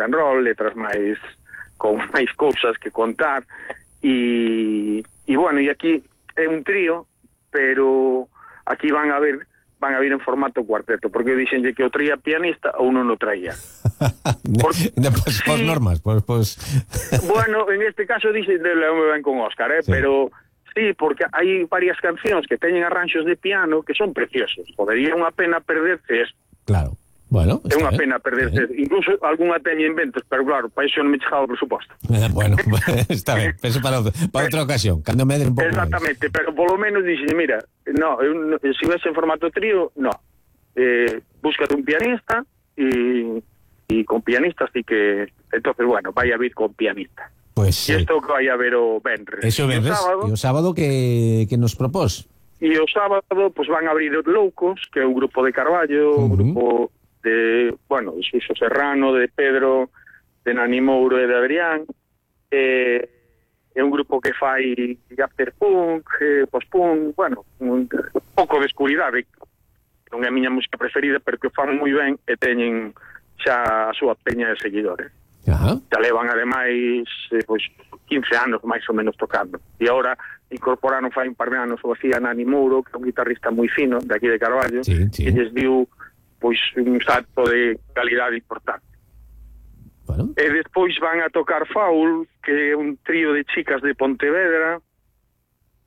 rock and roll, letras máis con máis cousas que contar, e bueno, e aquí é un trío, pero aquí van a vir en formato cuarteto, porque dixenlle que o traía pianista ou non o traía. Por normas, pues... Bueno, en este caso dixe de León ben con Óscar, sí. Pero sí, porque hai varias cancións que teñen arranxos de piano que son preciosos. Podería unha pena perderse esto. Claro. Bueno, é unha pena perderse, incluso algunha teña inventos, pero claro, para iso non me chegaba o presuposto. Bueno, está ben, penso para outra ocasión, cando me den un pouco. Exactamente, máis. Pero polo menos dixen, mira, no, se ves en formato trío, no. Búscate un pianista e con pianista así que, entonces, bueno, vai a vir con pianista. Pues e isto que vai a ver o Benres. Eso Benres, e o sábado que nos propós? E o sábado, pues van a abrir os Loucos, que é un grupo de Carballo, un grupo de, bueno, de Suso Serrano, de Pedro, de Nani Mouro e de Adrián. É un grupo que fai afterpunk, post-punk, bueno, un pouco de escuridade. Non é a miña música preferida, pero que fan moi ben e teñen xa a súa peña de seguidores. Ajá. Xa levan, ademais, pues, 15 anos máis ou menos tocando. E agora incorporaron fai un par de anos o así a Nani Mouro, que é un guitarrista moi fino, de aquí de Carballo, que lles diu pois un salto de calidade importante. Bueno. E despois van a tocar Faul, que é un trío de chicas de Pontevedra,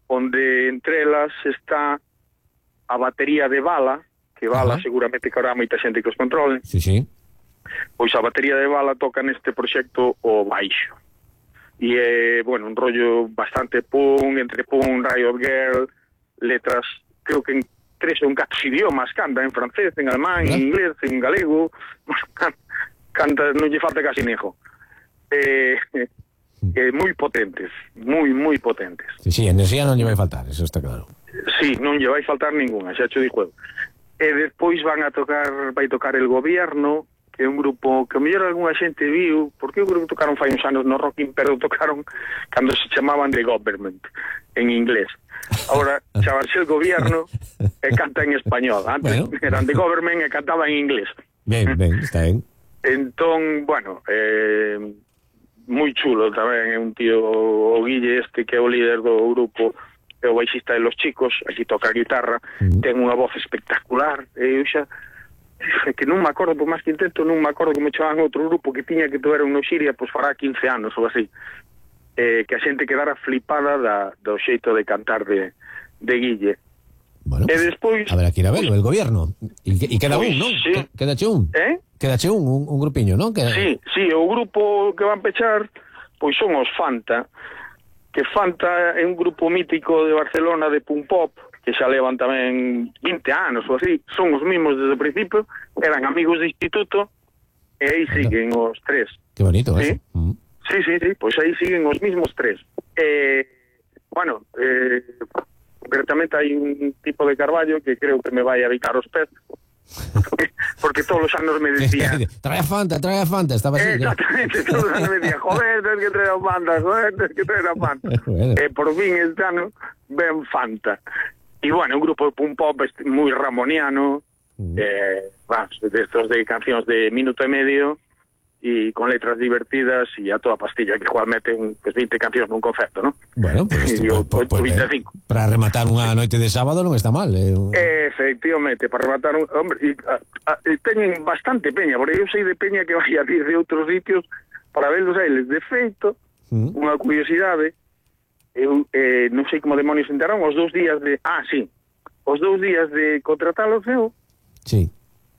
onde entre elas está a batería de Bala, que Bala seguramente que habrá moita xente que os controle. Sí, sí. Pois a batería de Bala toca neste proxecto o baixo. E é, bueno, un rollo bastante punk, entre punk, Riot Girl, letras, creo que en 3 ou 4 idiomas, canta en francés, en alemán, en inglés, en galego, canta, non lle falta casi nejo. Moi potentes, moi potentes. Sí, enerxía non lle vai faltar, eso está claro. Sí, non lle vai faltar ninguna, xa cho dixo. E despois vai tocar El Gobierno, que é un grupo que a mellor algunha xente viu, porque eu creo que tocaron fai uns anos no Rocking, pero tocaron cando se chamaban The Government, en inglés. Ahora chamarse El Gobierno e canta en español. Antes eran The Government e cantaba en inglés. Ben, está ben. Entón, bueno, moi chulo tamén, é un tío, o Guille este, que é o líder do grupo, é o baixista de Los Chicos, aquí toca a guitarra, ten unha voz espectacular, e eu xa que non me acordo, por máis que intento, non me acordo como chamaban outro grupo que tiña que tocar no Xiria, pois fará 15 anos ou así, que a xente quedara flipada do xeito de cantar de Guille. Bueno, e despois habrá que ir a verlo, El Gobierno, e queda un, non? Sí. Quedache un? Quedache un grupiño, non? Sí, o grupo que van pechar pois son os Fanta, que Fanta é un grupo mítico de Barcelona de punk pop, que xa levan tamén 20 anos ou así, son os mismos desde o principio, eran amigos de instituto, e aí siguen os 3. Que bonito, ¿sí? Sí, pois aí siguen os mismos 3. Bueno, concretamente hai un tipo de Carballo que creo que me vai a bicar os pés, porque todos os anos me decía trae a Fanta, estaba así. Exactamente, todos os anos me decía, joder, tens que traer a Fanta, bueno. Por fin este ano ven Fanta. E bueno, un grupo de punk pop moi ramoniano, destos de cancións de minuto e medio, e con letras divertidas e a toda pastilla, que igual meten 20 cancións nun concerto, non? Bueno, pues 25. Para rematar unha noite de sábado non está mal. Efectivamente, para rematar hombre, teñen bastante peña, porque eu sei de peña que vai a vir de outros sitios para verlos a eles. De feito, unha curiosidade, eu non sei como demonios enteraron, os 2 días de... os 2 días de contratalos eu. Sí.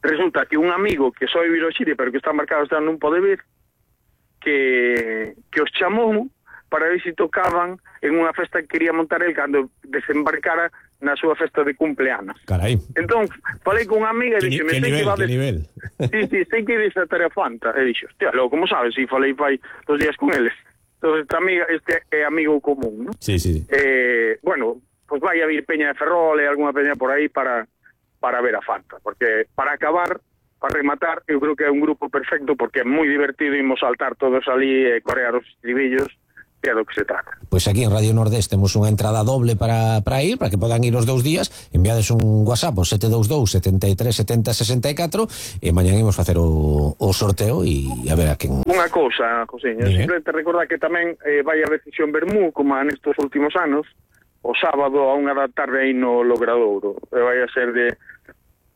Resulta que un amigo que soy Viroxire, pero que está marcado, está non pode ver, que os chamou para ver se tocaban en unha festa que quería montar el cando desembarcara na súa festa de cumpleanos. Carai. Entón, falei con unha amiga e dixo, que nivel. Sí, sei que dice a Tarea Fanta. E dixo, hostia, logo, como sabes? E falei fai 2 días con eles. Entón, este é amigo común, ¿no? Sí. Bueno, pues vai a vir peña de Ferrol e algunha peña por aí para ver a Fanta, porque para acabar, para rematar, eu creo que é un grupo perfecto, porque é moi divertido, imos saltar todos ali e corear os estribillos, que é do que se trata. Pois aquí en Radio Nordés temos unha entrada doble para ir, para que podan ir os 2 días. Enviades un WhatsApp ao 722 73 70 64 e mañan imos facer o sorteo e a ver a quen... Unha cousa, Josiño, simplemente recordar que tamén vai a decisión Bermú, como nestes últimos anos, o sábado a 1 da tarde aí no Logradouro. Vai a ser de,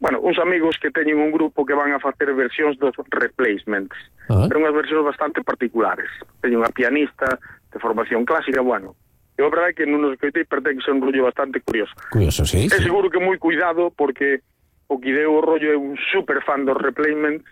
bueno, uns amigos que teñen un grupo que van a facer versións dos Replacements, pero unhas versións bastante particulares. Teñen unha pianista de formación clásica, bueno, eu a verdade é que non nos escoitei, pero ten que ser un rollo bastante curioso. Curioso, sí. É seguro que moi cuidado, porque o que deu o rollo é un super fan dos Replacements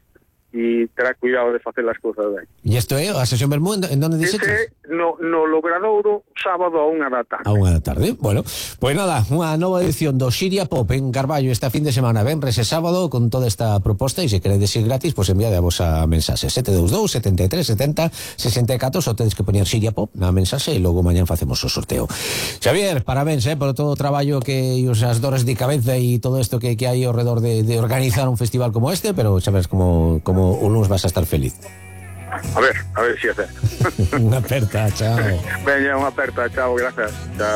e terá cuidado de facer as cousas ben. E isto é a sesión Bermú, en donde dices? Ese no Logradouro, sábado a 1 da tarde. A 1 da tarde, bueno. Pois nada, unha nova edición do Xiria Pop en Carballo esta fin de semana, venres e sábado, con toda esta proposta, e se queredes ir gratis, pois enviade a vosa mensaxe 722 73 70 64, só tedes que poñer Xiria Pop na mensaxe e logo mañan facemos o sorteo. Xavier, parabéns por todo o traballo que e as dores de cabeza e todo isto que hai ao redor de organizar un festival como este, pero xa ves como o lunes vas a estar feliz. A ver si hacer. Unha aperta, chao. Veña, unha aperta, chao, gracias. Chao.